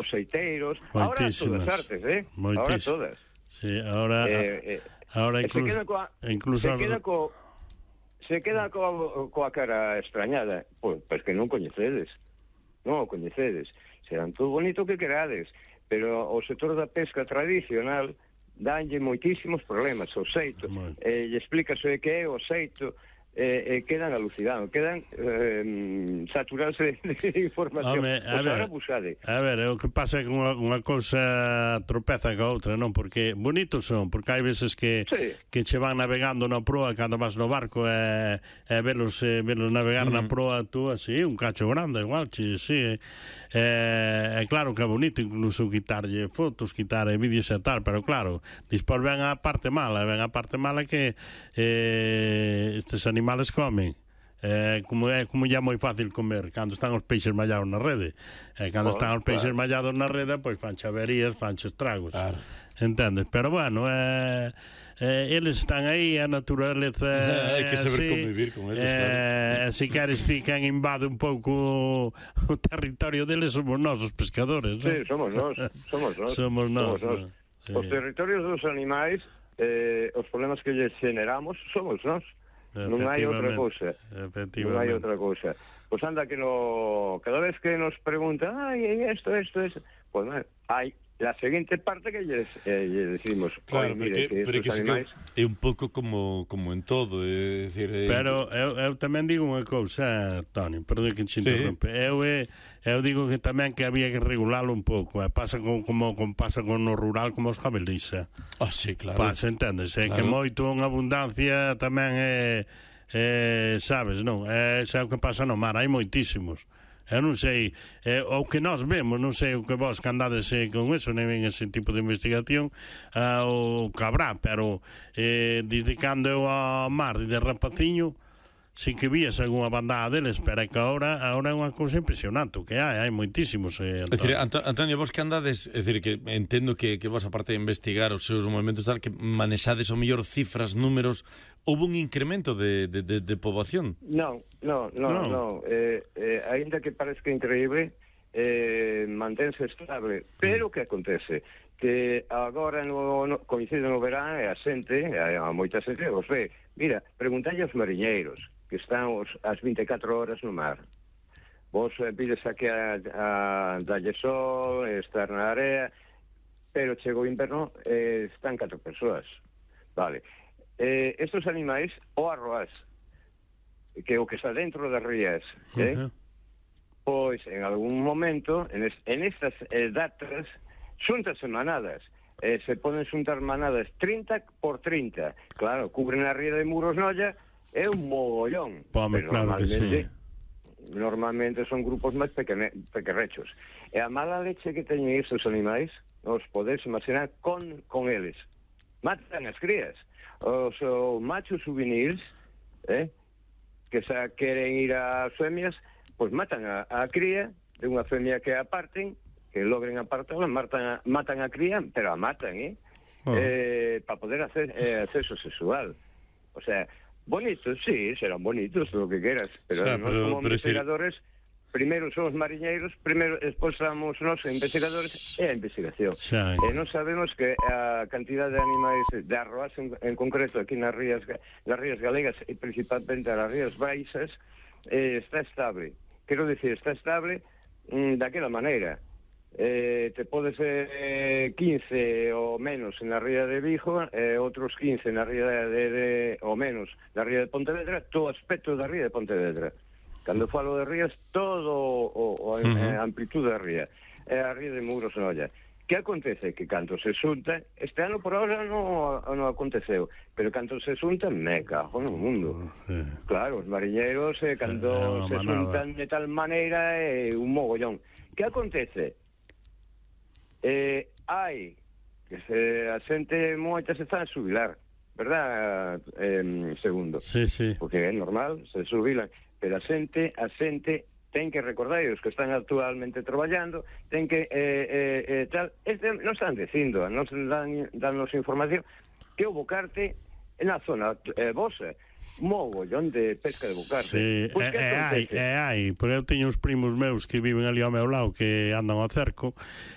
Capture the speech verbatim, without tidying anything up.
os seiteiros, ahora todas artes, eh? Ahora todas. Sí, ahora eh, eh, ahora incluso se queda coa, incluso se queda co se queda coa, coa cara extrañada, pois pues, que non coñecedes. Non o coñecedes. Serán todo bonito que querades, pero o sector da pesca tradicional danlle moitísimos problemas ao xeito. Eh, lle explícase que é o xeito, eh, eh, quedan alucinados, quedan eh, saturados de, de información. Home, a, ver, a ver, o que pasa é que unha, unha cousa tropeza ca outra, non? Porque bonitos son, porque hai veces que sí. que che van navegando na proa cando vas no barco e, e velos, eh, velos navegar uh-huh. na proa tú así, un cacho grande igual, che, sí, é eh, claro que é bonito incluso quitarlle fotos, quitar vídeos e tal, pero claro, dispor ven a parte mala, ven a parte mala que eh, estes animales comen. Eh, como é como ya moi fácil comer cando están os peixes mallados na rede, eh, cando oh, están os peixes claro. mallados na rede, pois fan chaverías, fan estragos, claro. entendes? Pero bueno, eh, eh, eles están aí, a naturaleza hai que saber así, convivir con eles, eh, claro. se queres fican invade un pouco o territorio deles, somos nós os pescadores, non? Sí, somos nós, somos nós somos nós, somos nós. No? Os territorios dos animais, eh, os problemas que lles generamos somos nós. Non hai outra cousa. Non hai outra cousa. Pois anda que no cada vez que nos preguntan, ai, esto, esto, esto, pois pues, hai la seguinte parte que lles, eh, lles decimos, claro, mire, que, que que animais... é un pouco como como en todo, é dicir, é... Pero eu, eu tamén digo unha cousa, Toni, perdón que te interrompe. Sí. Eu eu digo que tamén que había que regularlo un pouco, eh. pasa con, como, como pasa con no rural como os jabelis. Ah, sí, claro. Pasa, entendes, é claro. Que moito unha abundancia tamén é, é sabes, non? É, é o que pasa no mar, hai moitísimos. Eu non sei, eh, o que nós vemos, non sei o que vos que andades eh, con eso, nem en ese tipo de investigación, uh, o cabrá, pero eh, desde cando eu ao mar, de rapaciño, si que vías algunha bandada deles, pero é que agora, agora é unha cousa impresionante, que hai, hai moitísimos. Eh, é dicir, Antonio, vos que andades, é dicir, que entendo que, que vos, aparte de investigar os seus movimentos tal, que manexades o mellor cifras, números, houve un incremento de, de, de, de poboación? Non, non, non, non. No. Eh, eh, ainda que parezca increíble, eh, mantense estable, pero que acontece? Que agora no, no, coincide no verán e a xente, a, a moita xente, os ve, mira, preguntalle aos mariñeiros, que están os, as vinte e catro horas no mar. Vos eh, pides aquí a, a dalle sol, estar na area, pero chega o inverno, eh, están catro persoas. Vale. Eh, estos animais, o arroás, que o que está dentro das rías, eh? Uh-huh. Pois, en algún momento, en, es, en estas eh, datas, xúntanse manadas. Eh, se poden xuntar manadas trinta por trinta. Claro, cubren a ría de Muros Noia, é un mogollón. Pome, claro que sí. Normalmente son grupos máis pequerrechos. E a mala leche que teñen estes animais, os podes imaginar con, con eles. Matan as crías. Os, os machos juvenils, eh, que xa queren ir ás femias, pois matan a, a cría de unha femia que aparten, que logren apartarla, matan a, matan a cría, pero a matan, eh? Oh. eh para poder hacer eh, acceso sexual. O sea, bonitos, sí, serán bonitos, lo que quieras, pero, o sea, pero como pero investigadores, si... primeiro son os mariñeiros, primeiro despois somos nós investigadores e a investigación. Xa, e non sabemos que a cantidad de animais de arroás en, en concreto aquí nas rías, nas rías galegas e principalmente nas rías baixas eh, está estable. Quero dicir, está estable mm, daquela maneira. Eh, te podes eh, quince ou menos na ría de Vigo, eh, outros quince na ría de, de, de ou menos na ría de Pontevedra, todo aspecto da ría de Pontevedra. Cando falo de rías, todo o, o a uh-huh. amplitude da ría. É a ría de Muros Noia. Que acontece? Que cando se xunta, este ano por ahora non, non aconteceu, pero cando se xunta, me cago no mundo. Uh-huh. Claro, os mariñeiros, eh, cando uh, se xuntan de tal maneira, é eh, un mogollón. Que acontece? Eh, hai que se, a xente moita se está a xubilar, verdad, eh, segundo? Sí, sí. Porque é normal, se xubilan, pero a xente, a xente ten que recordar, os que están actualmente traballando, ten que, eh, eh, eh, tal, este, non están dicindo, non dan, danos información, que o bocarte na zona eh, vosa, mogollón de pesca de bocarte. Sí, pues, e, e hai, e hai, porque eu teño uns primos meus que viven ali ao meu lado que andan ao cerco